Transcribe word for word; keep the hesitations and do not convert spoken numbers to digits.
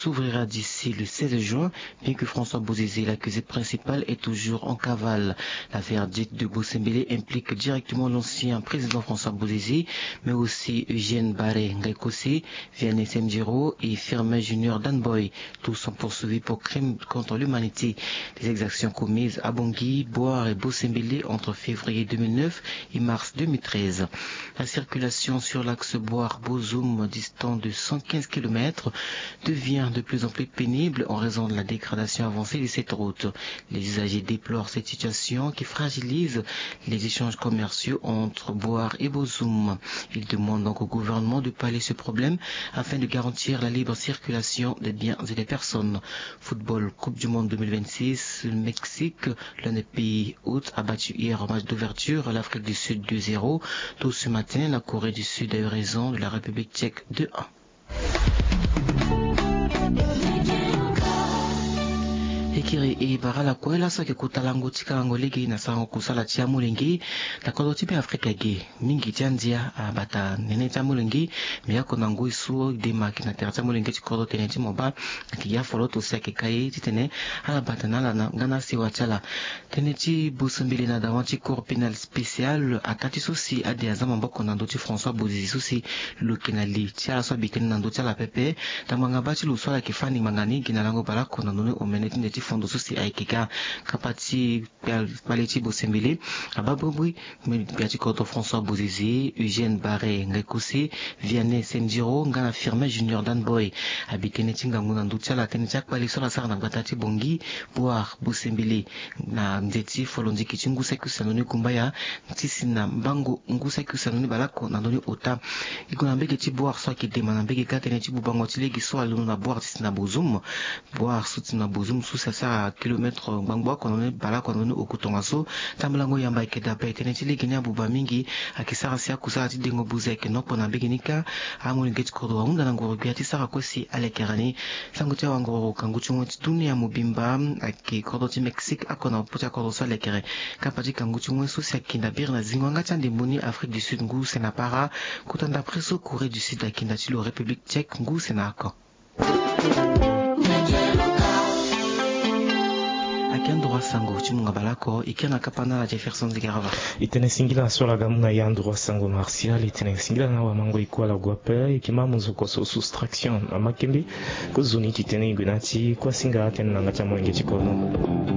s'ouvrira d'ici le seize juin, bien que François Bozizé, l'accusé principal, est toujours en cavale. La verdict de Bossembélé implique directement l'ancien président François Bozizé, mais aussi Eugène Barré Ngaïkosé, Vianney Sendiro et Firmin Junior Danboy. Tous sont poursuivis pour crimes contre l'humanité. Les exactions commises à Bangui, Boar et Bossembélé entre février deux mille neuf et mars deux mille treize. La circulation sur l'axe Boar-Bozoum, distant de cent quinze kilomètres, devient de plus en plus pénible en raison de la dégradation avancée de cette route. Les usagers déplorent cette situation qui fragilise les échanges commerciaux entre Boar et Bozoum. Ils demandent donc au gouvernement de pallier ce problème afin de garantir la libre circulation des biens et des personnes. Football, Coupe du Monde deux mille vingt-six, le Mexique, l'un des pays hôtes, a battu hier au match d'ouverture l'Afrique du Sud deux zéro. Tôt ce matin, la Corée du Sud a eu raison de la République tchèque deux un. E kiri e bara ala kue laso ayeke kota lango ti kalango lege na sarango kusala ti amolenge na kodro ti Be Afrika ge. Mingi ti andia abata nene ti amolenge. Me oko na ngoi so e de ma ayeke na tere ti amolenge ti kodro tënë ti mo baa ayeke ya foloto si ayeke ka ye titene ala bata na ala na nga na asewa ti ala. Tënë ti Bossembélé na dawa ti Cour pénale spéciale, ataa ti so si ade aza maboko na ndö ti François Bozizé so si lo yeke na li ti ala so abi tënë na ndö ti ala pepe. Ndambo ngbanga baa ti lo so ala yeke fâ ni ngbanga ni gi na lango baleoko na ndö ni omene ti nde ti fondo so si ayeke ga kapa ti kpale ti Bossembélé. Abaa bobri, me gbia ti kodro François Bozizé, Eugène Barré Ngaïkosé, Vianney Sendiro nga na Firmin Junior Danboy abi tënë ti ngangu na ndö ti ala, tënë ti akpale so ala sara na gbata ti Bangui, Boar, Bossembélé. Na nze ti folondiki ti ngu saki use na ndö ni kumbaya ti si na mbango ngu saki use na ndö ni baleoko na ndö ni ota. E gue na mbege ti Boar so ayeke dema na mbege kâ tënë ti bubango ti lege so alondo na Boar ti si na Bozoum. Boar so ti na Bozoum so si asara kilometre ngbangbo oko na ndö ni baleoko na ndö ni oku tongaso. Tambolango yamba ayeke dabe tënë ti lege ni abuba mingi. Ayeke sara si akusala ti dengo buze ayeke na oko na mbege ni kâ. Amolenge ti kodro ahunda na ngoro gbia ti sara kue si alekere ni. Sango ti awangoro kangu ti ngoi ti dunia mobimba ayeke kodro ti Mexique oko na popo ti akodro so alekere. Kapa ti kangu ti ngoi so si akinda biri na zingo yanga ti andembo ni Afrique du Sud ngu use na para. Kota ndapre so Corée du Sud akinda ti lo République tchèque ngu use na oko. Ayeke andoro asango ti mungo baleoko e kiri na kapa na ala Jefferson Zigarava. E tene singila so ala ga mu na e andoro asango Martial, e tene singila na awamango e kue ala gue ape. E yeke ma munzu koso soustraction na makembe. Kozoni titene e gue na ya ti kuasinga atene na yanga ti amolenge ti kodro.